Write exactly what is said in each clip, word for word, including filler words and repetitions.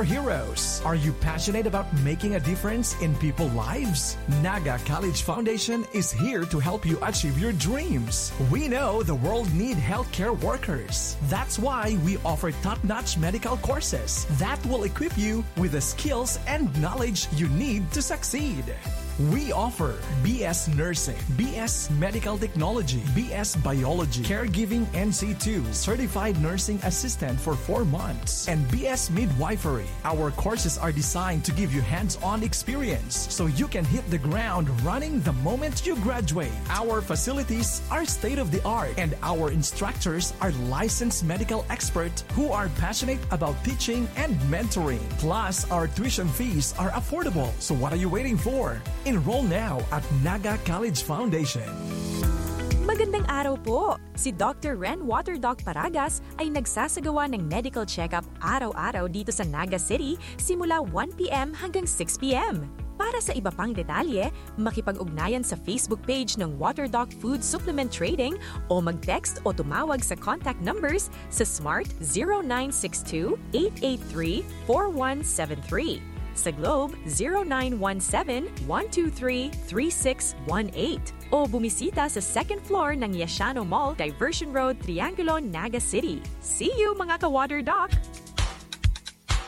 Heroes. Are you passionate about making a difference in people's lives? Naga College Foundation is here to help you achieve your dreams. We know the world need healthcare workers. That's why we offer top-notch medical courses that will equip you with the skills and knowledge you need to succeed. We offer B S Nursing, B S Medical Technology, B S Biology, Caregiving N C two, Certified Nursing Assistant for four months, and B S Midwifery. Our courses are designed to give you hands-on experience so you can hit the ground running the moment you graduate. Our facilities are state-of-the-art, and our instructors are licensed medical experts who are passionate about teaching and mentoring. Plus, our tuition fees are affordable. So what are you waiting for? Enroll now at Naga College Foundation. Magandang araw po! Si Doctor Ren Waterdoc Paragas ay nagsasagawa ng medical check-up araw-araw dito sa Naga City simula one p.m. hanggang six p.m. Para sa iba pang detalye, makipag-ugnayan sa Facebook page ng Waterdoc Food Supplement Trading o mag-text o tumawag sa contact numbers sa Smart zero nine six two eight eight three four one seven three, sa Globe zero nine one seven one two three three six one eight o bumisita sa second floor ng Yashano Mall, Diversion Road, Triangulo, Naga City. See you, mga ka-Water Doc!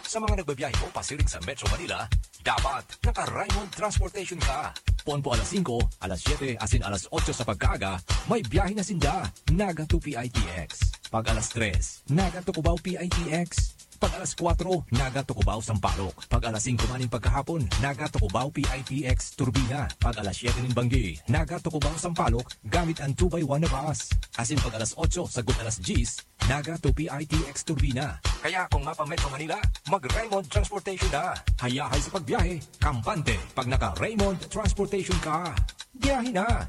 Sa mga nagbabiyahe po pasiring sa Metro Manila, dapat naka-Raymond Transportation ka. Ponpo alas singko, alas siyete, asin alas otso sa pagkaaga, may biyahe na sinda. Naga to P I T X. Pag alas tres, Naga to Cubao P I T X. Pag alas kwatro, Naga to Cubao Sampaloc. Pag alas singko maning pagkahapon, Naga to Cubao P I T X Turbina. Pag alas siyete nin banggi, Naga to Cubao Sampaloc gamit ang two by one na bus. Asin pag alas otso sagkod alas dyes, Naga to P I T X Turbina. Kaya kung mapa-Metro Manila, mag-Raymond Transportation na. Hayahay sa pagbiyahe, kampante pag naka-Raymond Transportation ka. Biyahe na!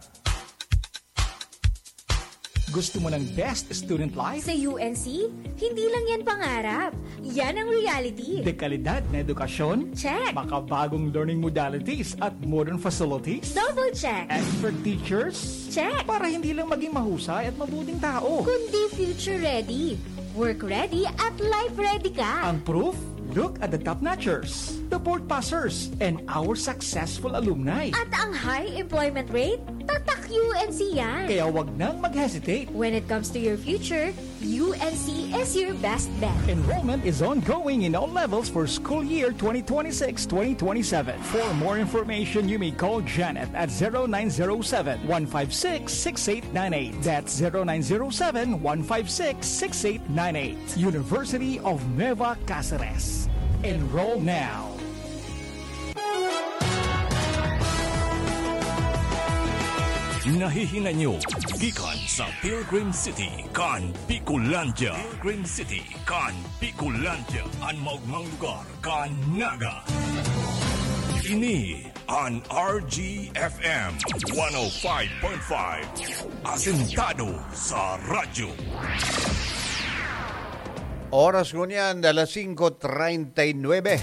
Gusto mo ng best student life? Sa U N C, hindi lang yan pangarap. Yan ang reality. Dekalidad na edukasyon? Check. Makabagong learning modalities at modern facilities? Double check. Expert teachers? Check. Para hindi lang maging mahusay at mabuting tao. Kundi future ready, work ready at life ready ka. Ang proof? Look at the top notchers, the board passers, and our successful alumni. At ang high employment rate? Tatak U N C yan. Kaya wag nang mag-hesitate. When it comes to your future, U N C is your best bet. Enrollment is ongoing in all levels for school year twenty twenty-six twenty twenty-seven. For more information, you may call Janet at zero nine zero seven, one five six, six eight nine eight. That's zero nine zero seven, one five six, six eight nine eight. University of Nueva Caceres. Enroll now. Nahihinay nyo gikan sa Pilgrim City kan Bicolandia. Pilgrim City kan Bicolandia, an maogmang lugar kan Naga. Ini an R G F M one oh five point five, asentado sa radyo. Oras ngunyan, alas singko treinta y nueve.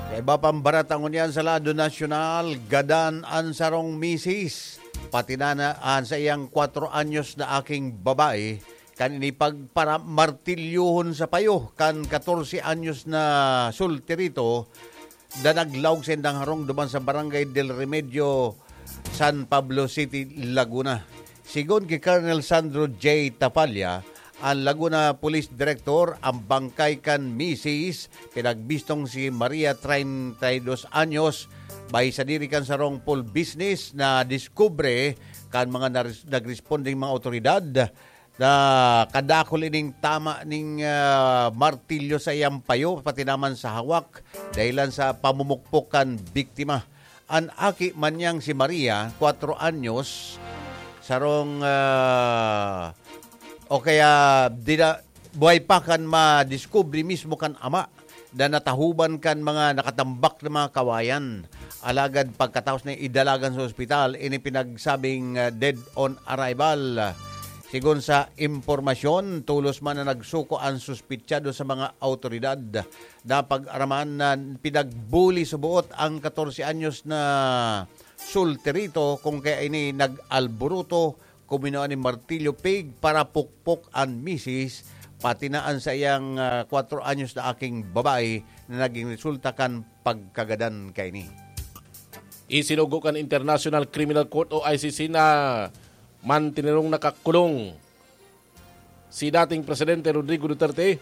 Sa iba pang barata ngunyan sa lado nasyonal, gadan an sarong misis, pati na, na an sa iyang kwatro anyos na aking babae, kan ini pagparamartilyohon sa payo kan katorse anyos na sultirito, na naglaog sa indang harong duman sa Barangay Del Remedio, San Pablo City, Laguna. Sigon ki Colonel Sandro J. Tapalla, an Laguna Police Director, an bangkay kan misis pinagbistong si Maria, treinta y dos anyos, bai sadiri kan sarong full business na diskubre kan mga nares- nagresponding mga awtoridad na kadakul ining tama ning ah, martilyo sa iyang payo, pati naman sa hawak, dahilan sa pamumukpok kan biktima. An aki man niyang si Maria, kwatro anyos, sarong ah, o kaya dina, buhay pa kan madiskubre mismo kan ama na natahuban kan mga nakatambak na mga kawayan. Alagad pagkataos na idalagan sa ospital, ini pinagsabing ah, dead on arrival. Sigon sa impormasyon, tolos man na nagsuko an suspitsado sa mga awtoridad. Napag-araman na pinagbuli sa buot ang katorse anyos na sultirito, kung kaya ini nag-alburuto, kuminua nin martilyo pig para pukpok an misis pati na an saiyang, ah, kwatro anyos na aking babae na naging resulta kan pagkagadan kaini. Isinugo kan International Criminal Court o I C C na mantinerong nakakulong si dating Presidente Rodrigo Duterte,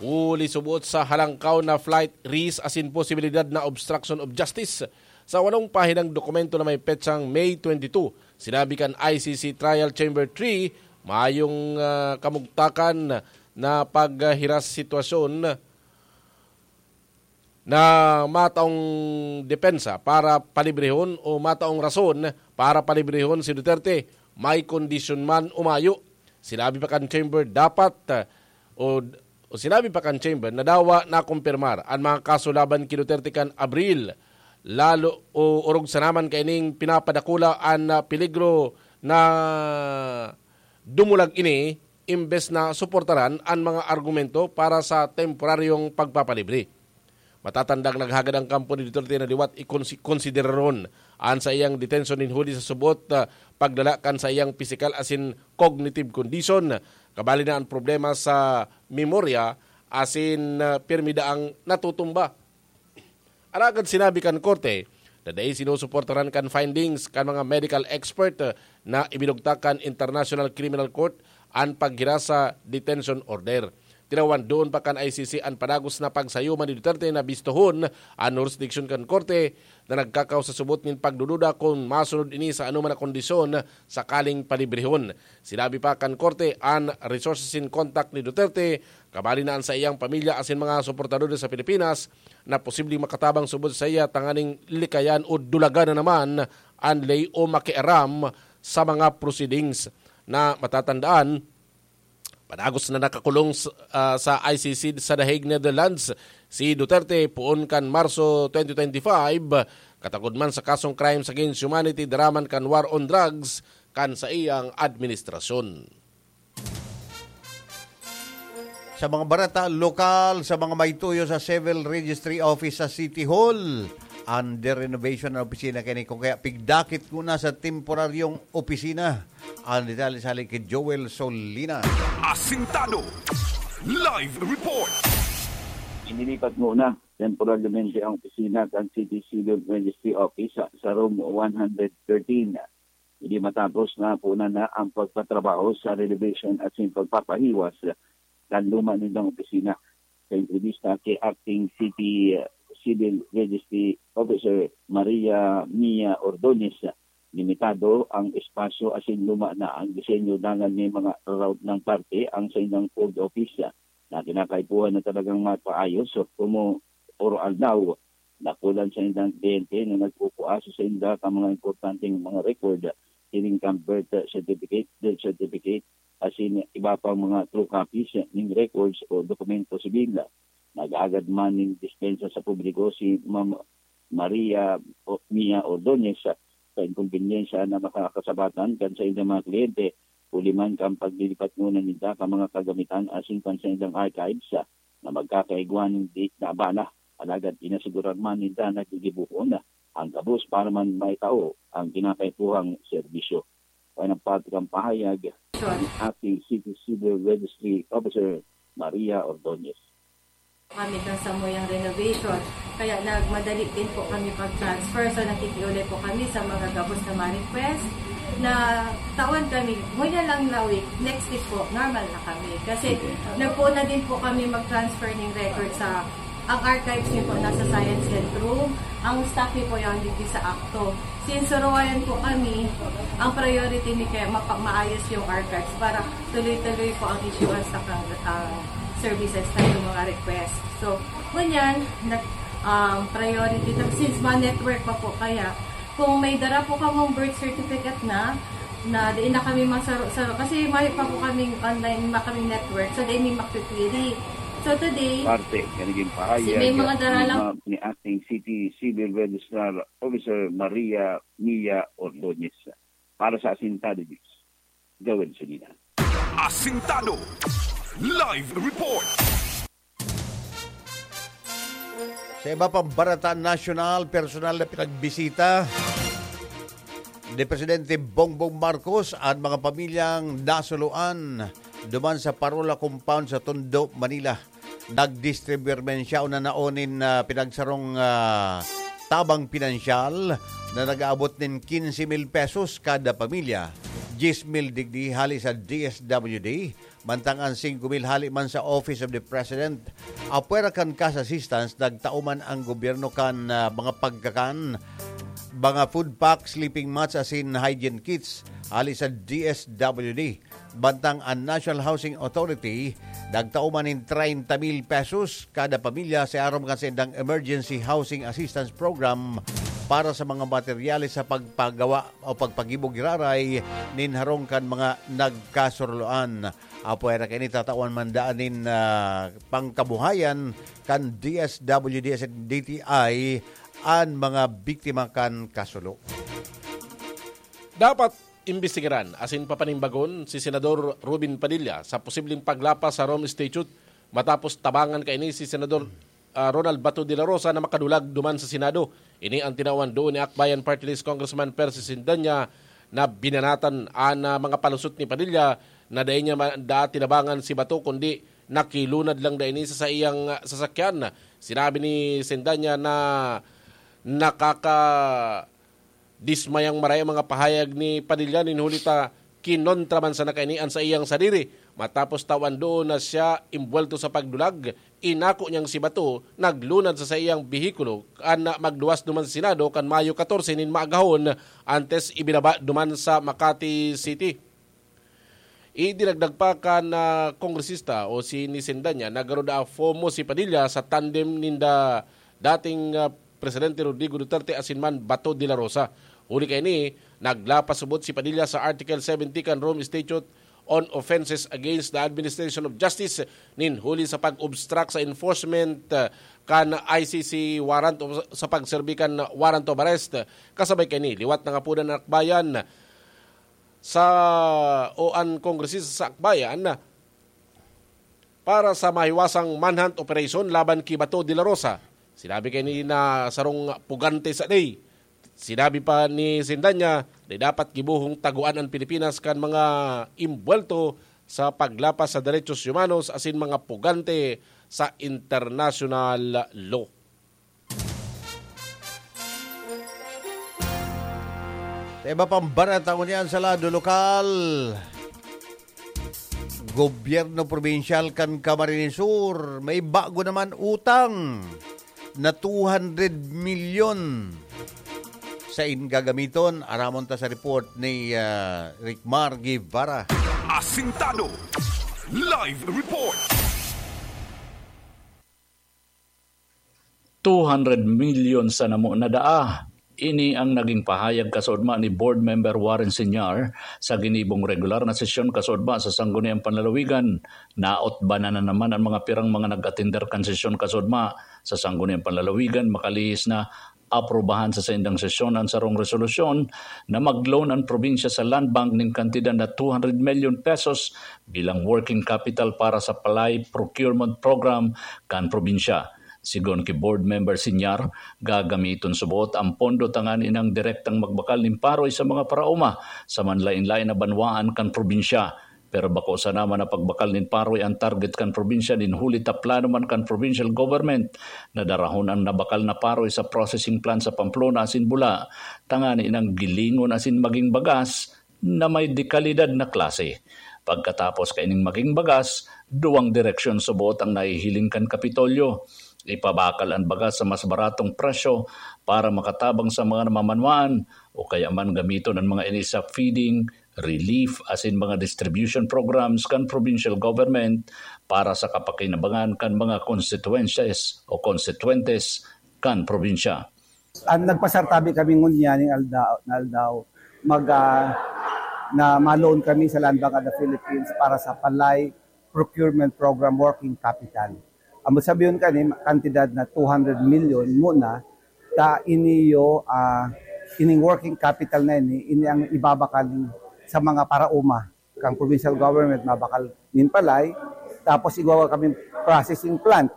huli suboot sa halangkaw na flight risk asin posibilidad na obstruction of justice. Sa walong pahinang dokumento na may petsang May twenty-two, sinabi kan I C C Trial Chamber three, mayong, ah, kamugtakan na paghiras sitwasyon na mataong depensa para palibrehon o mataong rason para palibrehon si Duterte, may kondisyon man o mayo. Sinabi pa kan Chamber dapat, ah, o, o sinabi pa kan Chamber na dawa nakumpirmar an mga kaso laban ki Duterte kan Abril, lalo o orog sa naman kaining pinapadakula an, ah, peligro na dumulag ini imbes na suportaran an mga argumento para sa temporaryong pagpapalibre. Matatandang naghagad ang kampo ni Duterte na liwat ikonsi-, konsideraron an saiyang detensyon nin huli sa subot, ah, pagdala kan saiyang pisikal asin cognitive condition. Kabali na ang problema sa memorya asin, ah, pirmi daang natutumba. Alagad sinabi kan korte na dai sinusuportaran kan findings kan mga medical expert, ah, na ibinugtak kan International Criminal Court an paghiras sa detention order. Tinawan doon pa kan I C C an padagos na pagsayuman ni Duterte na bistohon an jurisdiction kan korte na nagkakaw sa subot nin pagdududa kun masunod ini sa anoman na kondisyon sakaling palibrehon. Sinabi pa kan korte an resources in contact ni Duterte, kabali na an saiyang pamilya asin mga suportadores sa Pilipinas na posibleng makatabang subot saiya tanganing likayan o dulagan na naman an ley o makiaram sa mga proceedings. Na matatandaan, padagos na nakakulong s-, ah, sa I C C sa The Hague, Netherlands, si Duterte poon kan Marso twenty twenty-five, katagod man sa kasong crimes against humanity, daraman kan war on drugs kan saiyang administrasyon. Sa mga bareta lokal, sa mga may tuyo sa Civil Registry Office sa City Hall, under renovation ang opisina kini, kung kaya pigdakit ko na sa temporaryong opisina. Ang detalye sa ki Joel Solinas. Asintado. Live report. Inilipat muna temporaryamente ang opisina kan City Civil Registry Office sa, sa room one hundred thirteen. Hindi matapos na puna na ang pagpatrabaho sa renovation at sin pagpapahiwas kan luma nindang opisina. Sa entrevista kay Acting City, uh, Civil Registry Officer Maria Mia Ordonez, limitado ang espasyo asin luma na ang disenyo dangan may mga raraot ng parte ang saindang old office na kinakaipuhan na talagang mapaayos o kumo oro aldaw. Dakulan sa indang kliyente na nagpupuaso sa inda kan mga importanteng mga record, siring kan birth certificate, death certificate, asin iba pang mga true copies ning records o dokumento sibil. Nag-aagad man nin dispensa sa publiko si Ma'am Maria O-, Mia Ordonez sa inkombenyensya na makakasabatan kan saindang mga kliyente, huli man kan paglilipat nguna ninda kan mga kagamitan asin kan saindang archives na magkakaigwa nin di na abala. Alagad inasigurar man ninda na gigibohon na ang gabos para man maitao ang kinakaipuhang serbisyo. Kaya nagpati kan pahayag ni Acting City Civil Registry Officer Maria Ordonez. Kami ng samuyang renovation. Kaya nagmadali din po kami pag-transfer. So, nakikiulay po kami sa mga gabos na ma-request na tawan kami. Ngunyan lang na week, next week po, normal na kami. Kasi nagpuon na din po kami mag-transfer ng record sa, ang archives niyo po nasa Science Centrum. Ang staff niyo po yan dito sa ACTO. Since suruwayan po kami, ang priority ni kaya mapa-, maayos yung archives para tuloy-tuloy po ang issuance sa kang-, ah, services na yung mga request. So, ngunyan, nag-, um, priority na, since ma-network pa po kaya, kung may dara po kamong birth certificate na, na di na kami masaro-saro, kasi may pa po kaming online, ma-, kaming network, so di may makikwiri. So today, Parte, yan naging pahayag si may mga dara ni lang Ma-, ni Acting City Civil Registrar Officer Maria Mia Ordonez. Para sa Asintado News, Joel Solina. Asintado Live Report. Sa iba pang barata nasyonal, personal na pinagbisita ni Presidente Bongbong Marcos ang mga pamilyang nasuluan duman sa Parola Compound sa Tondo, Manila. Nagdistribuyar man siya una na nin, ah, pinagsarong, ah, tabang pinansyal na nag-aabot nin quince mil pesos kada pamilya, diyes mil digdi hali sa D S W D, mantang an singko mil hali man sa Office of the President. Apwera kan cash assistance, nagtao man ang gobyerno kan, ah, mga pagkakan, mga food pack, sleeping mats asin hygiene kits hali sa D S W D. Bantang an National Housing Authority, nagtao man nin treinta mil pesos kada pamilya sa aram kan saindang Emergency Housing Assistance Program para sa mga materyales sa pagpagawa o pagpagibo giraray nin harong kan mga nagkasurloan. Apwera kaini, tatawan man daan nin, ah, pangkabuhayan kan D S W D S and D T I an mga biktima kan kasulo. Dapat imbestigaran asin papanimbagon si Senador Robin Padilla sa posibleng paglapas sa Rome Statute matapos tabangan kaini si Senador, ah, Ronald Bato de la Rosa na makadulag duman sa Senado. Ini ang tinawan doon ni Akbayan Party List Congressman Percy Sendanya na binanatan an, ah, mga palusot ni Padilla na dai niya ma-, daa tinabangan si Bato, kundi nakilunad lang daini sa saiyang, ah, sasakyan. Sinabi ni Sendanya na nakaka- dismayang maray ang mga pahayag ni Padilla nin huli ta kinontra man sana kaini an saiyang sadiri. Matapos tawan doon na siya imbuwelto sa pagdulag, inako niyang si Bato naglunad sa saiyang behikulo kan magluwas duman sa Senado kan Mayo katorse nin maagahon, antes ibinaba duman sa Makati City. Idinagdag pa kan, ah, kongresista o si ni Sendanya na garo daa FOMO si Padilla sa tandem ninda dating, ah, Presidente Rodrigo Duterte asin man Bato de la Rosa. Huli kaini, naglapas subot si Padilla sa Article seventy kan Rome Statute on Offenses Against the Administration of Justice nin huli sa pag-obstruct sa enforcement, ah, kan I C C warrant o sa pagserbi kan warrant of arrest. Kasabay kaini, liwat na nga po an akbayan sa, o an kongresista sa akbayan para sa mahiwasang manhunt operation laban ki Bato de la Rosa. Sinabi kaini na sarong pugante sa day. Sinabi pa ni Sendanya na dapat gibohong taguan an Pilipinas kan mga imbuwelto sa paglapas sa derechos humanos asin mga pugante sa international law. Sa iba pang bareta ngunyan sa lado lokal, gobyerno probinsyal kan Camarines Sur may bago naman utang na two hundred milyon. Sain gagamiton? Aramon ta sa report ni, ah, Ricmar Guevara. Asintado Live Report. Two hundred milyon sa namo na daa. Ini ang naging pahayag kasudma ni Board Member Warren Senior sa ginibong regular na sesyon kasudma sa Sangguniang Panlalawigan. Nautbanan na naman ang mga pirang mga nag-atender kan sesyon kasudma sa Sangguniang Panlalawigan, makalihis na aprubahan sa saindang sesyon ang sarong resolusyon na mag-loan ang probinsya sa Land Bank nin kantidad na two hundred million pesos bilang working capital para sa palay procurement program kan probinsya. Sigon ki Board Member Senior, gagamiton subot ang pondo tanganing direktang magbakal nin paroy sa mga paraoma sa manlain-lain na banwaan kan probinsya. Pero bako sana man na pagbakal nin paroy ang target kan probinsya nin huli ta plano man kan provincial government na darahon ang nabakal na paroy sa processing plant sa Pamplona asin Bula, tanganing gilingon asin maging bagas na may dekalidad na klase. Pagkatapos kaining maging bagas, duwang direksyon subot ang nahihiling kan Kapitolyo. Ipabakal an bagas sa mas baratong presyo para makatabang sa mga namamanwaan, o kaya man gamiton an mga ini sa feeding, relief, asin mga distribution programs kan provincial government para sa kapakinabangan kan mga constituencies o konstituyentes kan probinsya. An nagpasartabi kami ngunyan ning aldaw, na aldaw, mag, ah, na ma-loan kami sa Land Bank of the Philippines para sa palay procurement program working capital. Ang sabihon kani, kantidad na two hundred million muna, ta iniyo, ah, ining working capital na ini, ini ang ibabakal sa mga paraoma. Kang provincial government, mabakal nin palay, tapos igwa kami processing plant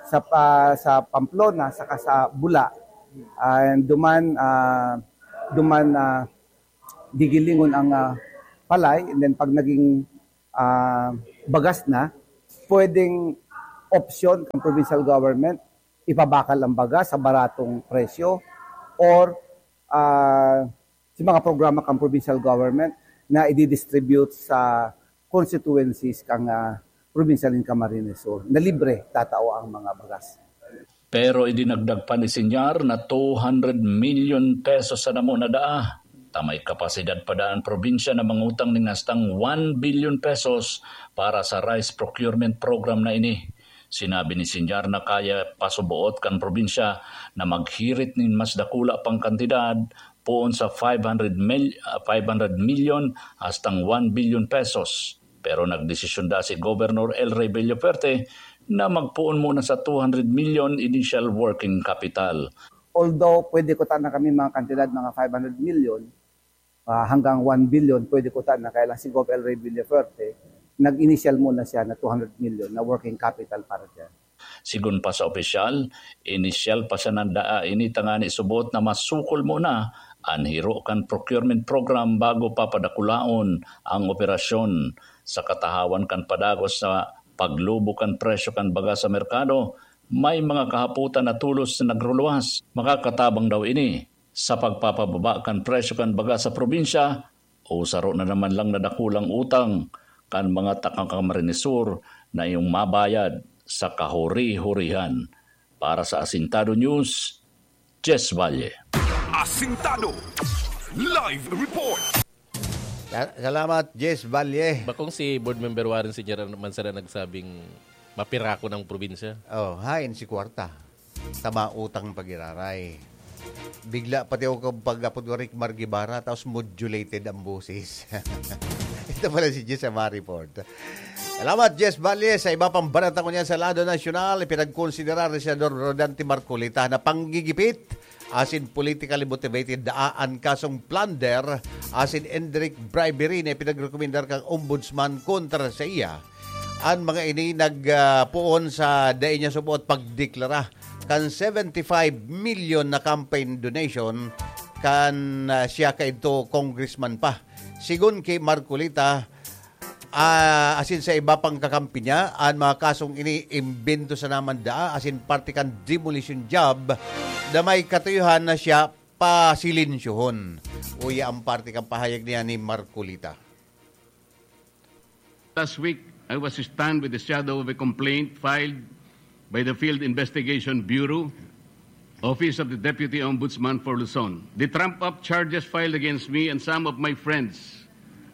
sa pa-, sa Pamplona, saka sa Bula. And duman, ah, duman, ah, gigilingon ang, ah, palay, and then pag naging ah, bagas na, pwedeng opsyon kan provincial government, ipabakal ang bagas sa baratong presyo, or, ah, sa mga programa kan provincial government na i-distribute sa constituencies kan, ah, probinsya nin Camarines Sur, na libre tatao ang mga bagas. Pero idinagdag pa ni Señor na two hundred million pesos sa damo na daa, ta may kapasidad pa daa an probinsya na mangutang nin hastang one billion pesos para sa rice procurement program na ini. Sinabi ni Señor na kaya pa suboot kan probinsya na maghirit nin mas dakula pang kantidad, poon sa five hundred mil-, ah, five hundred million hastang one billion pesos. Pero nagdesisyon daa si Governor El Rey Villafuerte na magpoon muna sa two hundred million initial working capital. Although pwede kutaan na kami mga kantidad, mga five hundred million, ah, hanggang one billion, pwede kutaan na, kaya lang si Gov El Rey Villafuerte, nag-initial muna siya na two hundred million na working capital para dyan. Sigon pa sa opisyal, inisyal pa sana daa ini tangani subot na masukol muna an hiro kan procurement program bago papadakulaon ang operasyon. Sa katahawan kan padagos sa paglubo kan presyo kan baga sa merkado, may mga kahapotan na tolos na nagruluwas. Makakatabang daw ini sa pagpapababa kan presyo kan baga sa probinsya o saro na naman lang na dakulang utang kan mga taga-Camarines Sur na iyong mabayad sa kahuri-hurihan. Para sa Asintado News, Jess Valle. Asintado Live Report. Sa-, salamat, Jess Valle. Bakong si Board Member Warren Señor man sana nagsabing mapirako ng probinsya? Oh, hain si kwarta. Tama utang pag-iraray. Bigla pati ako pag-apod ko Rick Margibara, tapos modulated ang boses. Ito pala si Jess Amari Ford. Salamat, Jess Valle. Sa iba pang balita ko niyan sa lado nasyonal, ipinagkonsidera ni Senador Rodante Marcoleta na panggigipit asin politically motivated daa an kasong plunder asin indirect bribery na ipinagrekomendar kan Ombudsman kontra sa iya. An mga ini nag, ah, poon sa dai niya suboot pagdeklara kan seventy-five million na campaign donation kan, ah, siya kaidto congressman pa. Sigon ki Marcoleta, ah, asin sa iba pang kakampi niya, an mga kasong ini imbento sana man daa asin parte kan demolition job na may katuyohan na siya pasilensyuhon. Uya ang parte kan pahayag niya ni Marcoleta. Last week, I was stunned with the shadow of a complaint filed by the Field Investigation Bureau, Office of the Deputy Ombudsman for Luzon. The trump-up charges filed against me and some of my friends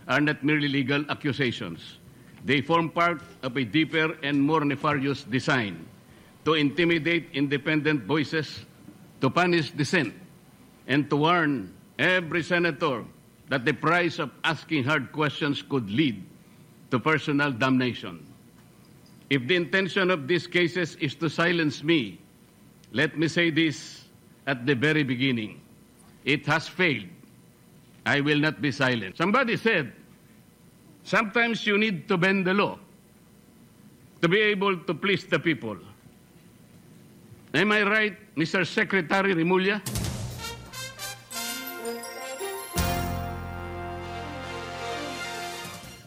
are not merely legal accusations. They form part of a deeper and more nefarious design to intimidate independent voices, to punish dissent, and to warn every senator that the price of asking hard questions could lead to personal damnation. If the intention of these cases is to silence me, let me say this at the very beginning. It has failed. I will not be silent. Somebody said, "Sometimes you need to bend the law to be able to please the people." Am I right, Mister Secretary Remulla?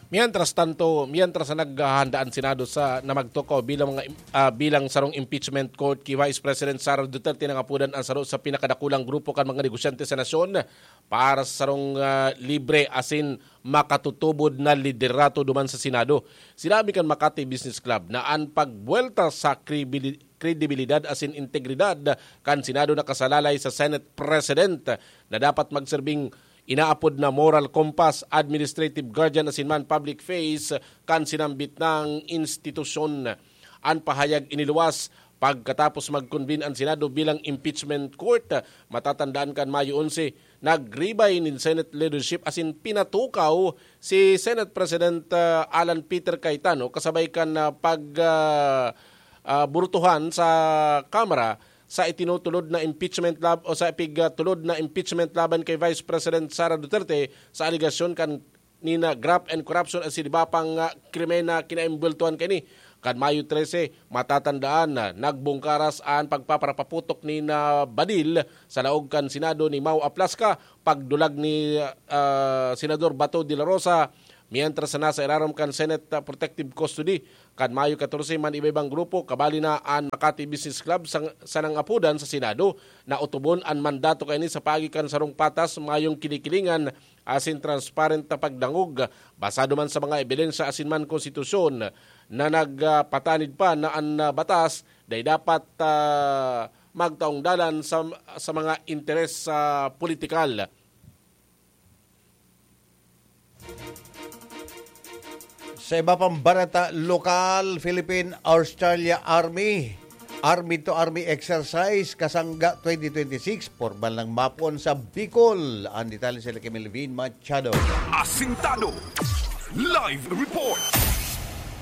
Mientras tanto, mientras na naghahanda ang Senado sa, na magtukaw bilang mga im-, ah, bilang sarong impeachment court ki Vice President Sara Duterte, nangapodan ang saro sa pinakadakulang grupo kan mga negosyante sa nasyon para sa sarong, ah, libre asin makatutubod na liderato duman sa Senado. Sinabi kan Makati Business Club na an pagbuwelta sa kribili-, kredibilidad asin integridad kan Senado nakasalalay sa Senate President na dapat magserbing inaapod na moral compass, administrative guardian asin man public face kan sinambit nang institusyon. An pahayag iniluwas pagkatapos mag-convene an Senado bilang impeachment court. Matatandaan kan Mayo onse, nagribay nin Senate leadership asin pinatukaw si Senate President, ah, Alan Peter Cayetano kasabay kan, ah, pag, ah, ah, burutuhan sa Kamara sa itinutulod na impeachment lab-, o sa ipigtulod na impeachment laban kay Vice President Sara Duterte sa alegasyon kan nina graft and corruption asin iba pang, ah, krimen na kinaimbultuhan kaini. Kan Mayo trese, matatandaan na nagbungkaras an pagpaparapaputok nina Badil sa laog kan Senado ni Mau Aplasca, pagdulag ni, ah, Senador Bato de la Rosa, Mientras na nasa irarom kan Senate, ah, protective custody kan Mayo catorce man iba-ibang grupo, kabali na an Makati Business Club sang, sanang apodan sa Senado na otobon an mandato kaini sa paagi kan sarong patas, mayong kinikilingan asin transparent na pagdangog, basado man sa mga ebidensya asin man konstitusyon na nagpatanid pa na an, ah, batas dai dapat, ah, magtaong dalan sa, sa mga interes, ah, politikal. Sa iba pang bareta lokal, Philippine Australia Army, Army to Army Exercise, Kasangga twenty twenty-six, pormal nang mapon sa Bicol. Ang detalye sila kay Melvin Machado. Asintado. Live report.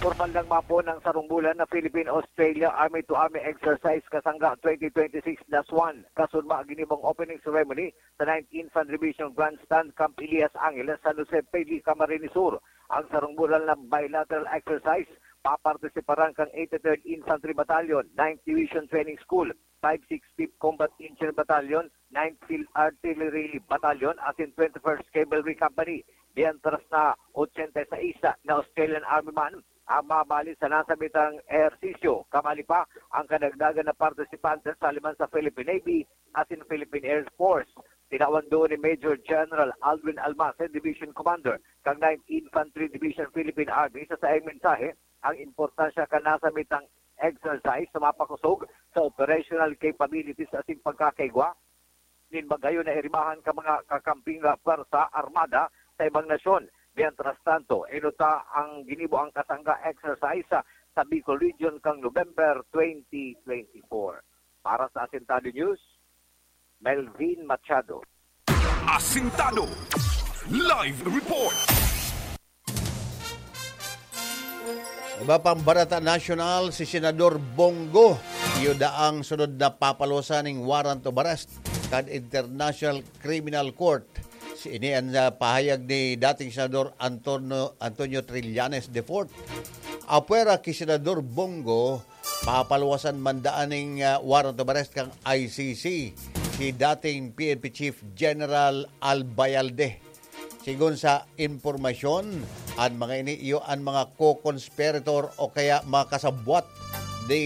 Pormal nang mapon ang sarong bulan na Philippine Australia Army to Army Exercise, Kasangga twenty twenty-six dash one. Kasunma, ginibong opening ceremony sa ninth Infantry Division Grandstand, Camp Elias Angeles, San Jose, P D, Camarines Sur. Ang sarong bulan na bilateral exercise, papartisiparan kan eighty-third Infantry Battalion, ninth Division Training School, five sixty-fifth Combat Engineer Battalion, ninth Field Artillery Battalion, asin twenty-first Cavalry Company. Mientras na ochenta y seis na Australian Army man ang mabali sa nasabitang ehersisyo. Kamali pa ang kadagdagan na partisipante sa liman sa Philippine Navy asin Philippine Air Force. Tinawan doon ni Major General Aldwin Almacen, Division Commander kan ninth Infantry Division Philippine Army sa saiyang mensahe ang importansya kan nasabitang exercise sa mapakosog sa operational capabilities asin pagkakaigwa nin magayon na iribahan ka mga kakamping pwersa armada sa ibang nasyon. Mientras tanto, inuta ang ginibo ang kasangga exercise sa, sa Bicol Region kang November twenty twenty-four. Para sa Asintado News, Melvin Machado. Asintado. Live report. Iba pang bareta nasyonal, si Senador Bong Go, iyo daang sunod na papaluwasan ning warrant of arrest kan International Criminal Court. Si ini ang, ah, pahayag ni dating Senador Antonio, Antonio Trillanes the fourth. Apwera ki Senador Bong Go, papaluwasan man daan ning, ah, warrant of arrest kan I C C si dating P N P Chief General Albayalde. Sigon sa impormasyon, an mga ini iyo an mga co-conspirator o kaya mga kasabwat ni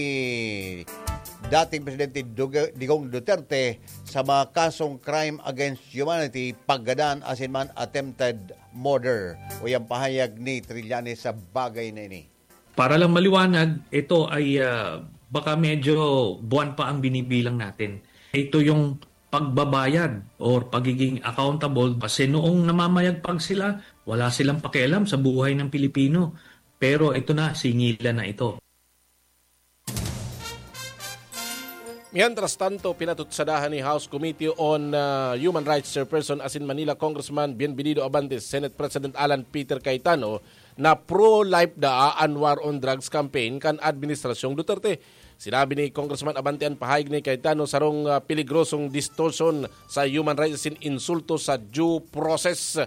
dating Presidente Duge-, Digong Duterte sa mga kasong crime against humanity, paggadan asin man attempted murder. Uya an pahayag ni Trillanes sa bagay na ini. Para lang maliwanag, ito ay, ah, baka medyo buwan pa ang binibilang natin. Ito yung pagbabayad or pagiging accountable. Kasi noong namamayagpag sila, wala silang pakialam sa buhay ng Pilipino. Pero ito na, singilan na ito. Mientras tanto, pinatutsadahan ni House Committee on, ah, Human Rights Chairperson asin Manila Congressman Bienvenido Abante, Senate President Alan Peter Cayetano na pro-life daa an war on drugs campaign kan Administrasyong Duterte. Sinabi ni Congressman Abante an pahayag ni Cayetano sarong, ah, peligrosong distortion sa human rights asin insulto sa due process.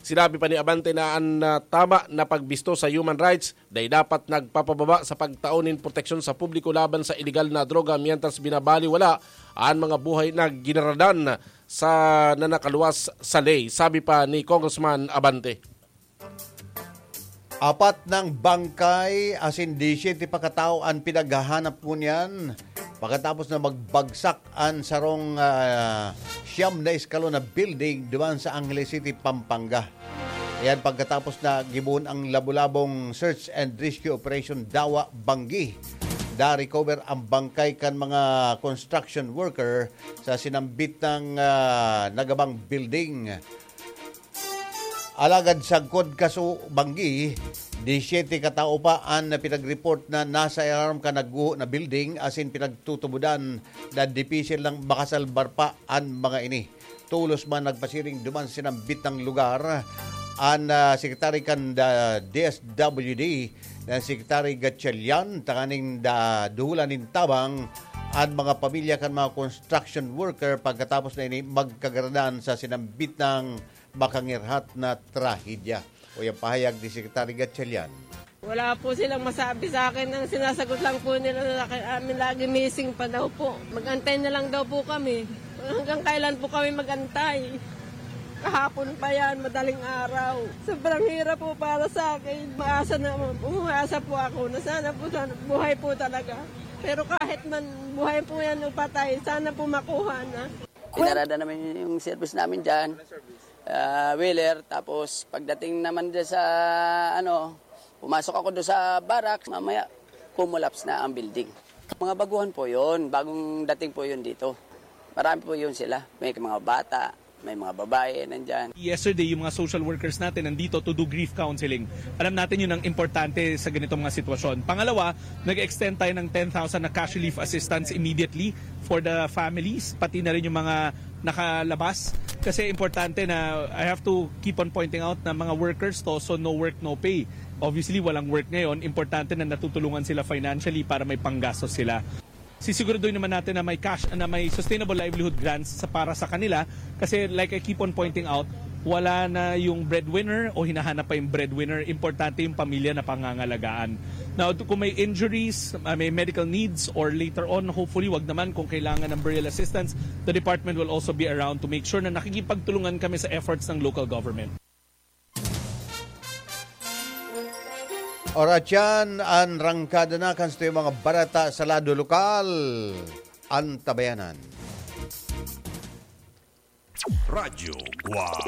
Sinabi pa ni Abante na an, ah, tama na pagbisto sa human rights dai dapat nagpapababa sa pagtao nin proteksyon sa publiko laban sa ilegal na droga, mientras binabaliwala an mga buhay na ginaradan sa na nakaluwas sa ley, sabi pa ni Congressman Abante. Apat nang bangkay asin disiyete pa katao an pinaghahanap ngunyan pagkatapos na magbagsak an sarong, ah, siyam na eskalon na building duman sa Angeles City, Pampanga. Yan pagkatapos na gibohon ang labo-labong search and rescue operation Dawa Banggi. Da-recover ang bangkay kan mga construction worker sa sinambit na, ah, nagabang building. Alagad sagkod kaso banggi, disiyete katao pa an pinag-report na nasa ilarom kan nagguho na building asin pinagtutubodan na dipisil nang makasalbar pa an mga ini. Tolos man nagpasiring duman sa sinambit na lugar an, ah, sekretary kan, ah, D S W D na Secretary Gatchalian, tanganing da-, duhulan nin tabang an mga pamilya kan mga construction worker pagkatapos na ini magkagaradan sa sinambit na makangirhat na trahedya. Uya an pahayag ni Secretary Gatchalian. Wala po silang masabi sa akin. Ang sinasagot lang po nila sa akin, "Amin lagi missing pa daw po. Mag-antay na lang daw po kami." Hanggang kailan po kami mag-antay? Kahapon pa yan, madaling araw. Sobrang hirap po para sa akin. Maasa na, umaasa po ako na sana po, sana, buhay po talaga. Pero kahit man buhay po yan o patay, sana po makuha na. Pinarada naman yung service namin dyan. Ah, wheeler, tapos pagdating naman dyan sa, ano, pumasok ako doon sa barracks, mamaya, kumulaps na ang building. Mga baguhan po yun, bagong dating po yun dito. Marami po yun sila. May mga bata, may mga babae nandyan. Yesterday, yung mga social workers natin nandito to do grief counseling. Alam natin yun ang importante sa ganitong mga sitwasyon. Pangalawa, nag-extend tayo ng ten thousand na cash relief assistance immediately for the families, pati na rin yung mga nakalabas. Kasi importante na, I have to keep on pointing out na mga workers to, so no work, no pay. Obviously, walang work ngayon. Importante na natutulungan sila financially para may panggastos sila. Sisiguraduhin naman natin na may cash, na may sustainable livelihood grants sa, para sa kanila. Kasi like I keep on pointing out, wala na yung breadwinner o hinahanap pa yung breadwinner. Importante yung pamilya na pangangalagaan. Now, kung may injuries, uh, may medical needs, or later on, hopefully, wag naman, kung kailangan ng burial assistance, the department will also be around to make sure na nakikipagtulungan kami sa efforts ng local government. Oras yan, an rangkada na kan sa mga bareta sa lado lokal. Antabayanan. Radyo Guwang.